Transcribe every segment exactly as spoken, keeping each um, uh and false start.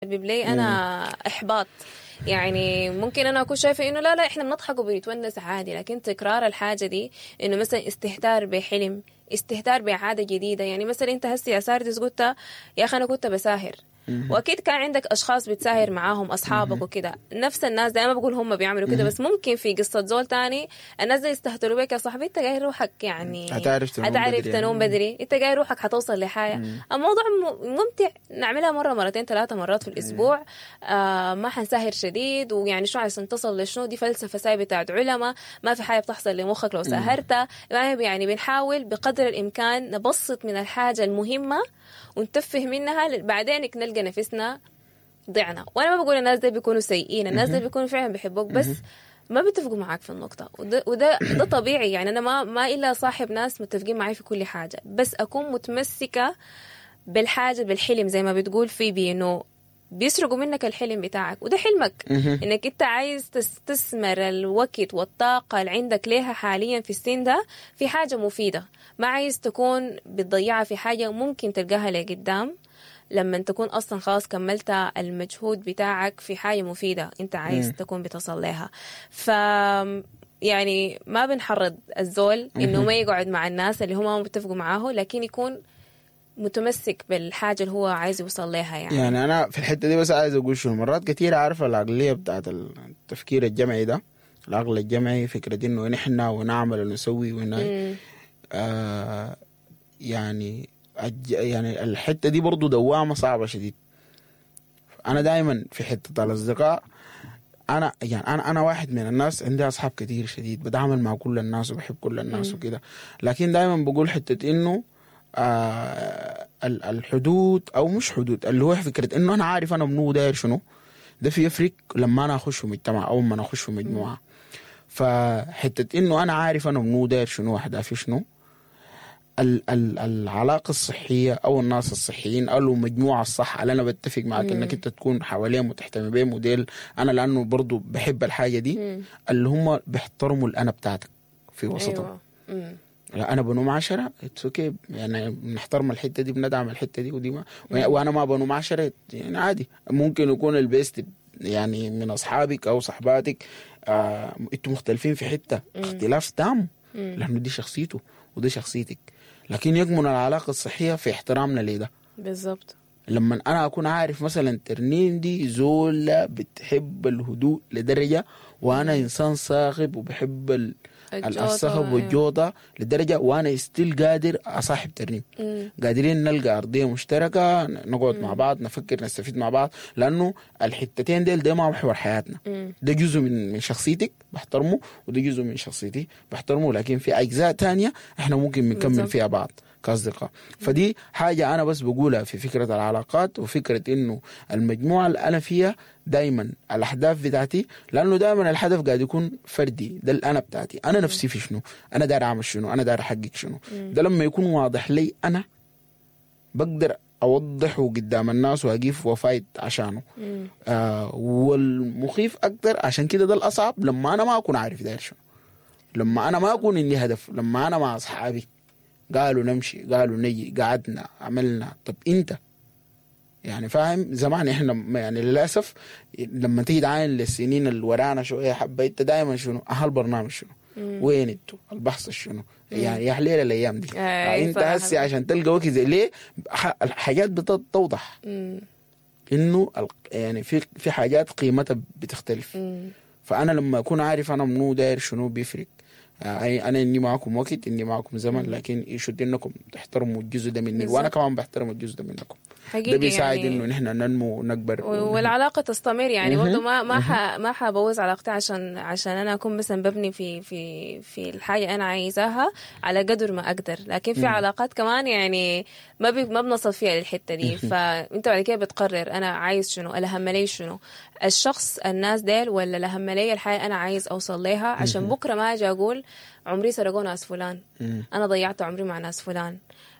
بيسبب لي انا احباط. يعني ممكن انا اكون شايفه انه لا لا احنا بنضحك وبنتونس عادي، لكن تكرار الحاجة دي انه مثلا استهتار بحلم، استهتار بعادة جديدة. يعني مثلا انت هسي يا ساردس قلت يا اخي انا كنت بساهر، واكيد كان عندك اشخاص بتساهر معاهم اصحابك وكده، نفس الناس دايما بقول هم بيعملوا كده، بس ممكن في قصة زول تاني الناس دي يستهتروا بك يا صاحبي، انت قايل روحك يعني هتعرف تنوم هتعرف بدري تنوم يعني. بدري، انت قايل روحك حتوصل لحاجة. الموضوع ممتع، نعملها مرة مرتين ثلاثة مرات في الاسبوع، آه ما حنساهر شديد، ويعني شو عشان تصل لشنو، دي فلسفة ساي بتاعت علماء، ما في حاجة بتحصل لمخك لو ساهرت. يعني بنحاول بقدر الامكان نبسط من الحاجة المهمة ونتفه منها، بعدين نلقى نفسنا ضعنا. وانا ما بقول الناس دي بيكونوا سيئين، الناس دي بيكونوا فعلا بيحبوك، بس ما بيتفقوا معاك في النقطة، وده, وده ده طبيعي. يعني أنا ما ما إلا صاحب ناس متفقين معي في كل حاجة، بس أكون متمسكة بالحاجة، بالحلم زي ما بتقول في بي، إنه بيسرقوا منك الحلم بتاعك، وده حلمك إنك أنت عايز تستثمر الوقت والطاقة اللي عندك ليها حاليا في السن ده في حاجة مفيدة، ما عايز تكون بتضيعها في حاجة ممكن تلقاها لقدام لما تكون أصلا خلاص كملت المجهود بتاعك في حاجة مفيدة أنت عايز تكون بتصل لها. ف يعني ما بنحرض الزول إنه ما يقعد مع الناس اللي هم متفقوا معاه، لكن يكون متمسك بالحاجة اللي هو عايز يوصل لها. يعني يعني أنا في الحتة دي بس عايز أقول شنو، مرات كتير عارفة العقلية بتاعت التفكير الجمعي ده، العقل الجمعي فكرة إنه نحن ونعمل ونسوي ون آه يعني يعني الحتة دي برضو دوامة صعبة شديد. أنا دايما في حتة الأصدقاء، أنا يعني أنا أنا واحد من الناس عندي أصحاب كتير شديد، بتعامل مع كل الناس وبحب كل الناس وكده، لكن دايما بقول حتة إنه آه الحدود أو مش حدود، اللي هو فكرة إنه أنا عارف أنا منو داير شنو، ده في يفرق لما أنا أخش في مجتمع أو لما أنا أخش في مجموعة. فحتة إنه أنا عارف أنا منو داير شنو أهدافي شنو، ال ال العلاقة الصحية أو الناس الصحيين أو المجموعة الصح اللي أنا بتفق معك إنك أنت تكون حواليهم وتهتم بهم وديل، أنا لأنه برضو بحب الحاجة دي. مم. اللي هم بيحترموا الأنا بتاعتك في وسطهم. أيوة. لا أنا بنوم عشرة it's okay، يعني بنحترم الحتة دي، بندعم الحتة دي ودي ما، وأنا ما بنوم عشرة يعني عادي. ممكن يكون ال best يعني من أصحابك أو صحباتك آه، أنتوا مختلفين في حتة اختلاف تام، لأنه دي شخصيته ودي شخصيتك، لكن يكمن العلاقة الصحية في احترامنا لده. بالضبط. لما أنا أكون عارف مثلا ترنيم دي زولة بتحب الهدوء لدرجة، وأنا إنسان صاخب وبحب الصخب والجوطة لدرجة، وأنا still قادر أصاحب ترنيم. مم. قادرين نلقى أرضية مشتركة، نقعد مم. مع بعض، نفكر، نستفيد مع بعض، لأنه الحتتين ديل ده ما محور حياتنا. مم. ده جزء من من شخصيتك بحترمه، وده جزء من شخصيتي بحترمه، لكن في أجزاء تانية إحنا ممكن بنكمل فيها بعض كأصدقاء. فدي حاجة أنا بس بقولها في فكرة العلاقات، وفكرة إنه المجموعة اللي أنا فيها دايما الأهداف بتاعتي، لأنه دايما الهدف قاعد يكون فردي، ده الأنا بتاعتي، أنا نفسي في شنو، أنا داير أعمل شنو، أنا داير أحقق شنو. ده لما يكون واضح لي أنا بقدر أوضحه قدام الناس وأقف وفايت عشانه. آه والمخيف أكتر عشان كده ده الأصعب، لما أنا ما أكون عارف داير شنو، لما أنا ما أكون عندي هدف، لما أنا مع أصحابي قالوا نمشي، قالوا نجي، قعدنا عملنا، طب انت يعني فاهم. زمان احنا يعني للاسف لما تيجي تعاين للسنين اللي ورانا شوية حبه، انت دائما شنو اهل البرنامج شنو، وين انتوا، البحث شنو، يعني يا حليل الايام دي. يعني انت هسي عشان تلقى وقت زي ليه الحاجات بتتوضح انه يعني في في حاجات قيمتها بتختلف. مم. فانا لما اكون عارف انا منو داير شنو بيفرق. انا اني معكم وقت، اني معكم زمن، لكن يشد انكم تحترموا الجزء ده مني، وانا كمان بحترم الجزء ده منكم. حقيقي ده بيساعد يعني انه نحن ننمو ونكبر والعلاقة تستمر. يعني برضه ما ما ح ما حبوظ علاقتي عشان عشان انا اكون مثلا ببني في في في الحاجة انا عايزاها على قدر ما اقدر، لكن في علاقات كمان يعني ما بي ما بنصل فيها للحتة دي. فانت بعد كده بتقرر انا عايز شنو، الاهم لي شنو، الشخص الناس ديل ولا الاهم لي الحاجة انا عايز اوصل لها، عشان بكره ما اجي اقول عمري سرقوا ناس فلان، انا ضيعت عمري مع ناس فلان،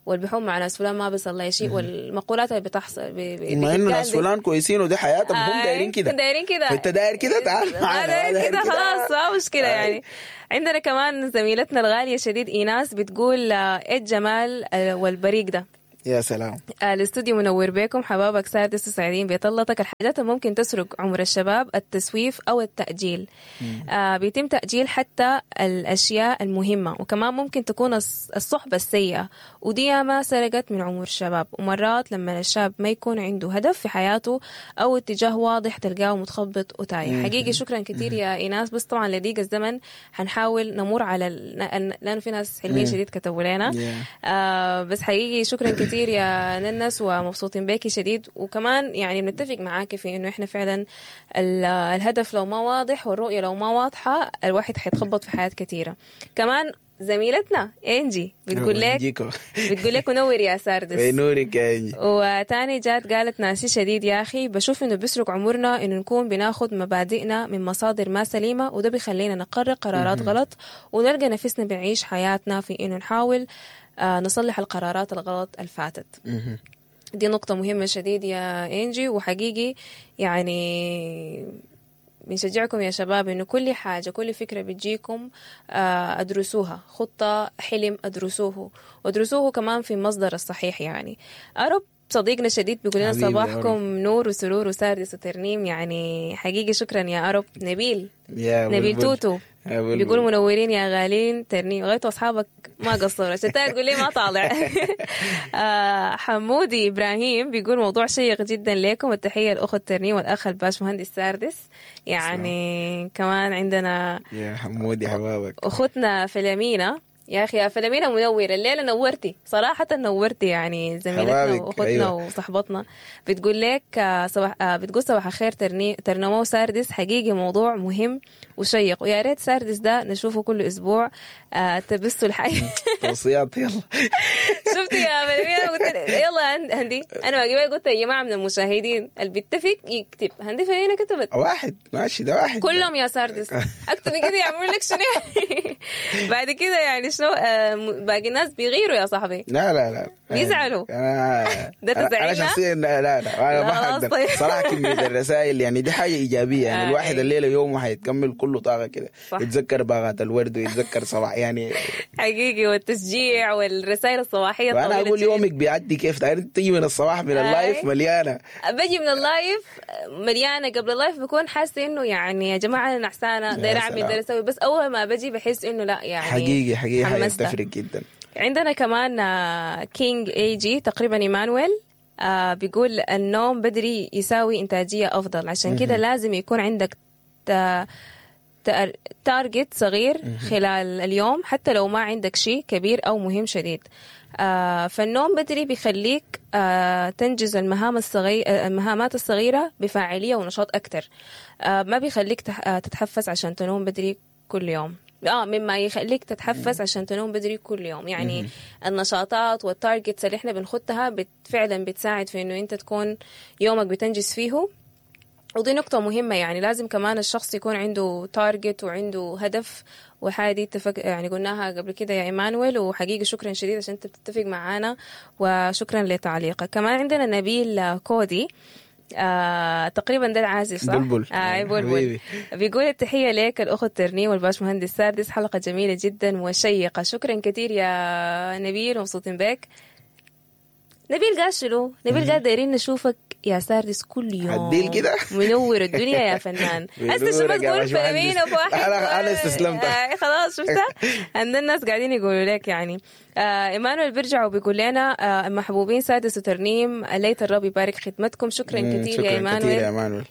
والبحوم مع ناس فلان ما بيصل لي شيء، والمقولات اللي بتحصل بما انه ناس فلان كويسين ودي حياتهم، هم دايرين كده، دايرين كده، انت داير كده تعال معانا، داير كده خلاص ما مشكلة. يعني عندنا كمان زميلتنا الغالية شديد ايناس بتقول ايه الجمال والبريق ده. يا سلام. آه، الاستوديو منور بكم حبابك سادس وسعيدين بطلتك. الحاجات اللي ممكن تسرق عمر الشباب التسويف أو التأجيل. آه بيتم تأجيل حتى الأشياء المهمة، وكمان ممكن تكون الص- الصحبة السيئة، ودي ما سرقت من عمر الشباب. ومرات لما الشاب ما يكون عنده هدف في حياته أو اتجاه واضح تلقاه متخبط وتايه. حقيقي شكرا كثير يا إيناس، بس طبعا لضيق الزمن حنحاول نمر على ال... لأنه في ناس حلوين شديد كتبوا لنا. Yeah. آه بس حقيقي شكرا كثير يا ننس، ومبسوطين بيكي شديد. وكمان يعني بنتفق معاك في انه احنا فعلا ال- الهدف لو ما واضح والرؤية لو ما واضحة الواحد حيتخبط في حياة كثيرة. كمان زميلتنا انجي بتقول لك نجيكو. بتقول لك منور يا ساردس. بنورك يا انجي. وتاني جات قالت ناسي شديد يا أخي، بشوف إنه بيسرق عمرنا إنه نكون بناخد مبادئنا من مصادر ما سليمة، وده بيخلينا نقرر قرارات غلط ونلقى نفسنا بنعيش حياتنا في إنه نحاول آه، نصلح القرارات الغلط الفاتت. دي نقطة مهمة شديد يا إنجي، وحقيقي يعني بنشجعكم يا شباب إنه كل حاجة كل فكرة بتجيكم آه، أدرسوها، خطة حلم أدرسوه، وأدرسوه كمان في المصدر الصحيح. يعني أرب صديقنا شديد بيقول لنا حبيبي صباحكم أرب. نور وسرور وساردس وترنيم، يعني حقيقي شكرا يا أرب. نبيل يا نبيل بلبل. توتو يا بلبل. بيقول منورين يا غالين ترنيم، غايتوا اصحابك ما قصروا عشان تقول لي ما طالع. آه، حمودي ابراهيم بيقول موضوع شيق جدا لكم، التحية الاخت ترنيم والاخ الباش مهندس ساردس. يعني كمان عندنا يا حمودي حبابك. اختنا فيلمينا، يا اخي يا فيلمينا منورة الليلة، نورتي صراحة نورتي يعني زميلتنا حبابك، واختنا أيوة. وصحبتنا. بتقول لك آه، صباح آه، بتقول صباح الخير ترني ترنمو ساردس، حقيقي موضوع مهم وشيق، ويا ريت ساردس ده نشوفه كل اسبوع. آه، تبثوا الحي. توصيات يلا. شفتي يا فيلمينا؟ قلت لك يلا هند- هندي، انا ما قلت يا جماعة من المشاهدين اللي بيتفق يكتب. هندي فيلمينا كتبت واحد ماشي ده واحد كلهم يا ساردس اكتب كده يعملوا لك شنو يعني؟ بعد كده يعني شنو آه، م- باقي الناس بيغيروا يا صاحبي. لا لا لا بيزعلوا. انا ده أنا- انا تزعلنا؟ شخصيا لا لا لا انا لا، ما خلاص حقدر طيب. صراحة كمية الرسائل يعني دي حاجة ايجابية يعني آه، الواحد أيوة. الليلة يومه حيتكمل كله طاقة كده صح. يتذكر باغات الورد ويتذكر صباح يعني. حقيقي، والتشجيع والرسائل الصباحية وانا الطويلة اقول الجميلة. يومك بيعدي كيف تعرف تيجي من الصباح من ال live أي. مليانة. بجي من ال live مليانة، قبل ال live بكون حاسه انه يعني يا جماعة انا نعسانه دايرة اعمل سلام. دايرة اسوي، بس اول ما بجي بحس انه لا يعني حقيقي حقيقي حاجة حمست. تفرق جدا. عندنا كمان آه، كينج اي جي تقريبا ايمانويل آه، بيقول النوم بدري يساوي انتاجية افضل، عشان كده لازم يكون عندك تا- تار- target صغير خلال اليوم حتى لو ما عندك شيء كبير او مهم شديد. آه، فالنوم بدري بيخليك آه، تنجز المهام الصغير المهامات الصغيرة بفاعليه ونشاط اكثر. آه، ما بيخليك تح- آه، تتحفز عشان تنوم بدري كل يوم. اه مما يخليك تتحفز عشان تنوم بدري كل يوم. يعني النشاطات وال targets اللي احنا بنخطها بت فعلا بتساعد في انه انت تكون يومك بتنجز فيه. ودي نقطة مهمة، يعني لازم كمان الشخص يكون عنده target وعنده هدف، وحاجة دي اتفق يعني قلناها قبل كده يا إيمانويل. وحقيقي شكرا شديد عشان انت بتتفق معانا، وشكرا لتعليقك. كمان عندنا نبيل كودي، آه تقريبا ده العازف صح؟ بلبل. آه بلبل. حبيبي. بيقول التحية لك الأخت ترنيم والباش مهندس سادس، حلقة جميلة جدا وشيقة. شكرا كثير يا نبيل، مبسوطين بك. نبيل قال شنو؟ نبيل قال دايرين نشوفك يا ساردس كل يوم. عديل كده؟ منور الدنيا يا فنان. هسه شو ما بنورك يا تقول باشمهندس. فيلمين وفي واحد أنا- أنا استسلمت. آه خلاص شفتها؟ عندنا الناس قاعدين يقولوا لك يعني. آه ايمانويل بيرجع وبيقول لنا آه محبوبين سادس وترنيم، ليت الرب يبارك خدمتكم. شكرا مم، كثير يا شكرا كثير ايمانويل. يا ايمانويل.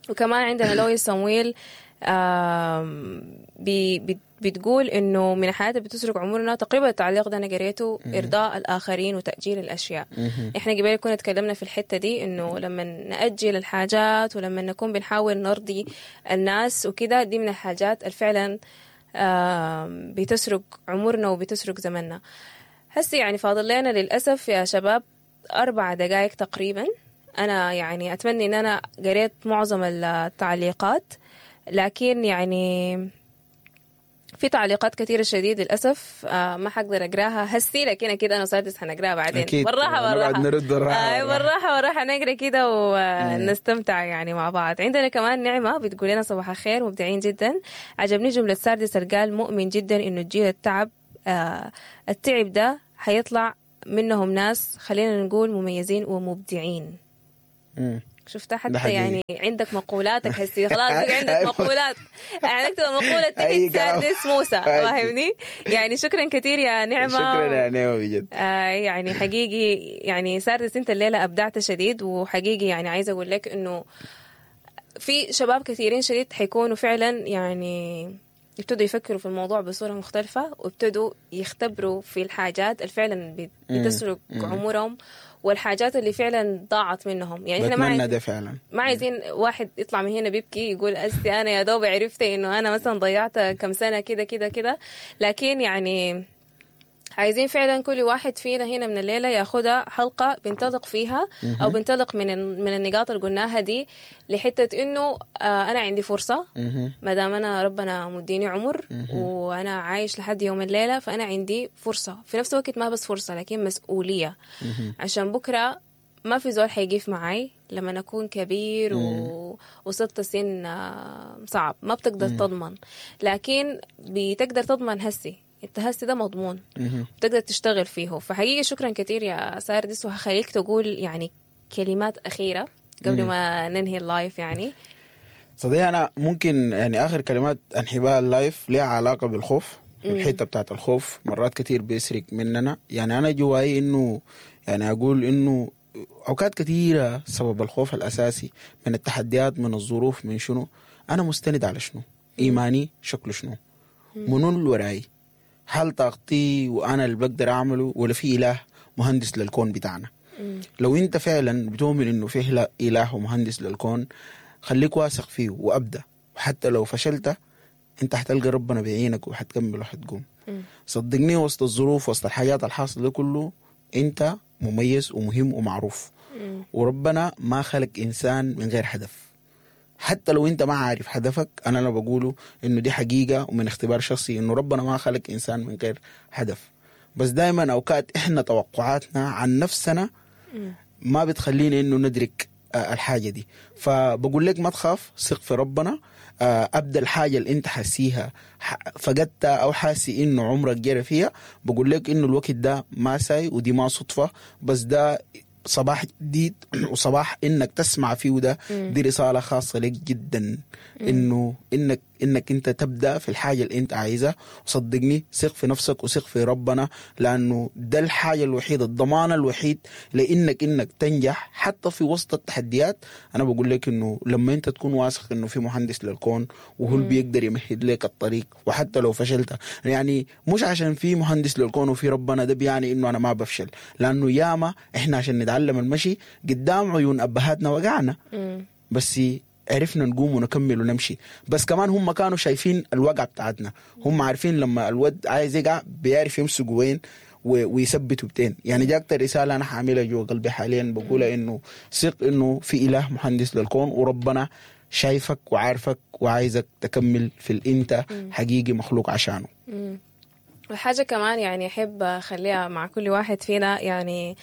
وكمان عندنا لوي صمويل آم، بي بت- بتقول انه من الحاجات اللي بتسرق عمرنا تقريبا التعليق ده انا قريته ارضاء الاخرين وتاجيل الاشياء. احنا قبل كنا تكلمنا في الحتة دي انه لما ناجل الحاجات ولما نكون بنحاول نرضي الناس وكده، دي من الحاجات اللي فعلا آم، بتسرق عمرنا وبتسرق زمننا. هسي يعني فاضل لنا للأسف يا شباب أربع دقائق تقريبا. أنا يعني أتمنى إن أنا قريت معظم التعليقات، لكن يعني في تعليقات كثيرة شديد للأسف آه ما حقدر أقراها هسي، لكن أكيد أنا وسادس حنقراها بعدين. أكيد. بالراحة نقعد بالراحة نرد بالراحة آه بالراحة. بالراحة بالراحة نقرا كده ونستمتع يعني مع بعض. عندنا كمان نعمة بتقول لنا صباح الخير، مبدعين جدا. عجبني جملة ساردس اللي قال مؤمن جدا إنه الجيل التعب آه التعب ده حيطلع منهم ناس خلينا نقول مميزين ومبدعين. مم. شفتها ده حتى حقيقي. يعني عندك مقولاتك هسي خلاص بقى عندك مقولات، يعني اكتب مقولة أي تحت كلام. ساردس موسى، أي. فاهمني؟ يعني شكرا كثير يا نعمة. شكرا يا نعمة بجد. آه يعني حقيقي يعني ساردس انت الليلة ابدعت شديد، وحقيقي يعني عايزة اقول لك انه في شباب كثيرين شديد حيكونوا فعلا يعني ابتدوا يفكروا في الموضوع بصورة مختلفة، وابتدوا يختبروا في الحاجات اللي فعلا بت- بتسرق عمرهم والحاجات اللي فعلا ضاعت منهم. يعني احنا ما بتمنى عايزين ده فعلا. ما عايزين واحد يطلع من هنا بيبكي يقول أستي أنا يا دوب عرفت إنه أنا مثلا ضيعت كم سنة كده كده كده، لكن يعني عايزين فعلا كل واحد فينا هنا من الليلة ياخدها حلقة بنطلق فيها أو بنطلق من من النقاط اللي قلناها دي لحتة إنه آه أنا عندي فرصة، ما دام أنا ربنا مديني عمر وأنا عايش لحد يوم الليلة، فأنا عندي فرصة. في نفس الوقت ما بس فرصة لكن مسؤولية، عشان بكرة ما في زول حيقف معي لما أكون كبير و... وصلت سن آه، صعب ما بتقدر تضمن، لكن بتقدر تضمن هسي، انت هسي ده مضمون بتقدر تشتغل فيه. فحقيقي شكرا كثير يا ساردس، وهخليك تقول يعني كلمات أخيرة قبل ما ننهي ال live. يعني صديقي انا ممكن يعني اخر كلمات انهي بها ال live ليها علاقة بالخوف. الحتة بتاعت الخوف مرات كتير بيسرق مننا. يعني انا جواي انه يعني اقول انه اوقات كثيرة سبب الخوف الاساسي من التحديات، من الظروف، من شنو انا مستند على شنو، ايماني شكله شنو، منو اللي وراي، هل طاقتي وانا اللي بقدر اعمله ولا في اله مهندس للكون بتاعنا. لو انت فعلا بتؤمن انه في اله ومهندس للكون، خليك واثق فيه وابدا، وحتى لو فشلت انت حتلقى ربنا بيعينك وحتكمل وحتقوم. صدقني وسط الظروف وسط الحاجات الحاصلة ده كله انت مميز ومهم ومعروف. وربنا ما خلق انسان من غير هدف. حتى لو انت ما عارف هدفك، انا لو بقوله انه دي حقيقة ومن اختبار شخصي انه ربنا ما خلق انسان من غير هدف. بس دائما اوقات احنا توقعاتنا عن نفسنا ما بتخلينا انه ندرك آه، الحاجة دي. فبقول لك ما تخاف، ثق في ربنا، آه، ابدا الحاجة اللي انت حاسيها ح- فقدتها او حاسي انه عمرك جرى فيها، بقول لك انه الوقت ده ما ساي ودي ما صدفة، بس ده صباح جديد وصباح انك تسمع فيه ده. دي رسالة خاصة لك جدا، انه انك انك انت تبدا في الحاجة اللي انت عايزها. وصدقني ثق في نفسك وثق في ربنا، لانه ده الحاجة الوحيدة، الضمان الوحيد لانك انك تنجح حتى في وسط التحديات. انا بقول لك انه لما انت تكون واثق انه في مهندس للكون وهو اللي بيقدر يمهد لك الطريق، وحتى لو فشلت، يعني مش عشان في مهندس للكون وفي ربنا ده بيعني انه انا ما بفشل، لانه ياما احنا عشان نتعلم المشي قدام عيون ابهاتنا وقعنا، بس عرفنا نقوم ونكمل ونمشي. بس كمان هم كانوا شايفين الوقعة بتاعتنا، هم عارفين لما الود عايز يقع بيعرف يمسك وين و- ويثبته بتين. يعني دي اكتر رسالة انا حاملها جوا قلبي حاليا، بقولها انه ثق انه في اله مهندس للكون، وربنا شايفك وعارفك وعايزك تكمل في الانت حقيقي مخلوق عشانه. وحاجة كمان يعني أحب أخليها مع كل واحد فينا، يعني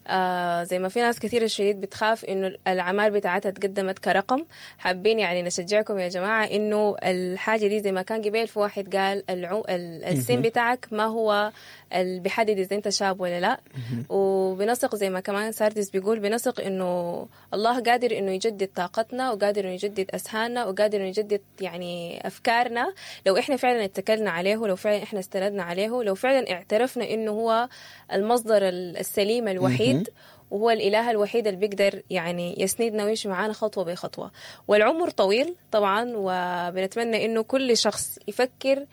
آه زي ما في ناس كثير الشديد بتخاف إنه الأعمال بتاعتها تقدمت كرقم، حابين يعني نشجعكم يا جماعة إنه الحاجة دي زي ما كان قبل في واحد قال العو... ال- السن بتاعك ما هو اللي بيحدد إذا أنت شاب ولا لا. وبنثق زي ما كمان ساردس بيقول، بنثق إنه الله قادر إنه يجدد طاقتنا، وقادر إنه يجدد أذهاننا، وقادر إنه يجدد يعني أفكارنا لو إحنا فعلا اتكلنا عليه، لو فعلا إحنا استندنا عليه، لو فعلا اعترفنا إنه هو المصدر السليم الوحيد، وهو الإله الوحيد اللي بيقدر يعني يسندنا ويمشي معانا خطوة بخطوة. والعمر طويل طبعا، وبنتمنى إنه كل شخص يفكر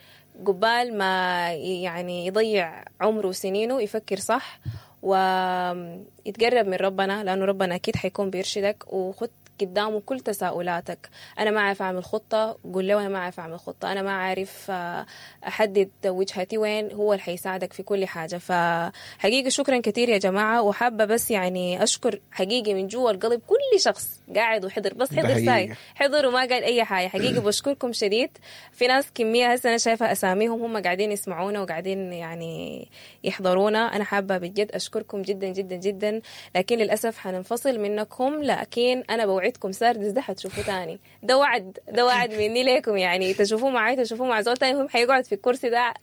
قبال ما يعني يضيع عمره وسنينه، يفكر صح ويتقرب من ربنا، لأنه ربنا أكيد حيكون بيرشدك. وخد قدامه كل تساؤلاتك، أنا ما عارف أعمل خطة، قول له أنا ما عارف أعمل خطة، أنا ما عارف آه، أحدد وجهتي وين، هو اللي حيساعدك في كل حاجة. فحقيقي شكرا كثير يا جماعة، وحابة بس يعني أشكر حقيقي من جوا القلب كل كل شخص قاعد وحضر، بس ده حضر ساي، حقيقة. حضر وما قال اي حاجة. حقيقة بشكركم شديد. في ناس كمية هسه انا شايفه اساميهم هم قاعدين يسمعونا وقاعدين يعني يحضرونا. انا حابة بجد اشكركم جدا جدا جدا، لكن للاسف حننفصل منكم. لكن انا بوعدكم ساردس ده حتشوفوه تاني، ده وعد، ده وعد مني لكم، يعني تشوفوه معي تشوفوه مع زول تاني، هم حيقعد في الكرسي ده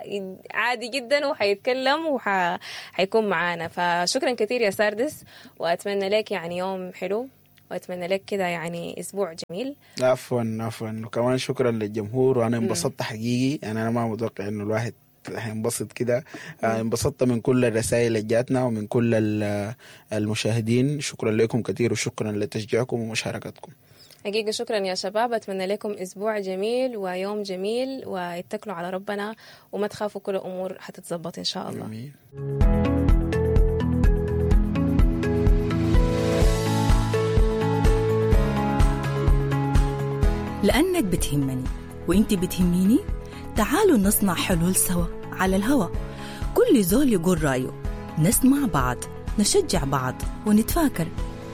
عادي جدا وحيتكلم وحيكون معانا. فشكرا كثير يا ساردس، واتمنى لك يعني يوم حلو، واتمنى لك كده يعني اسبوع جميل. عفوا عفوا، وكمان شكرا للجمهور، وانا انبسطت حقيقي، يعني انا ما متوقع انه الواحد حينبسط كده. آه، انبسطت من كل الرسائل اللي جاتنا ومن كل ال- المشاهدين. شكرا لكم كثير، وشكرا لتشجيعكم ومشاركتكم. حقيقة شكرا يا شباب، أتمنى لكم أسبوع جميل ويوم جميل، واتكلوا على ربنا وما تخافوا، كل الأمور حتتظبط إن شاء الله. آمين. لأنك بتهمني وإنت بتهميني، تعالوا نصنع حلول سوا على الهوا. كل زول يقول رأيه، نسمع بعض، نشجع بعض، ونتفاكر،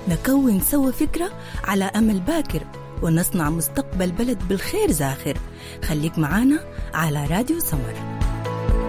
نكون سوا فكرة على أمل باكر، ونصنع مستقبل بلد بالخير زاخر. خليك معانا على راديو سمر.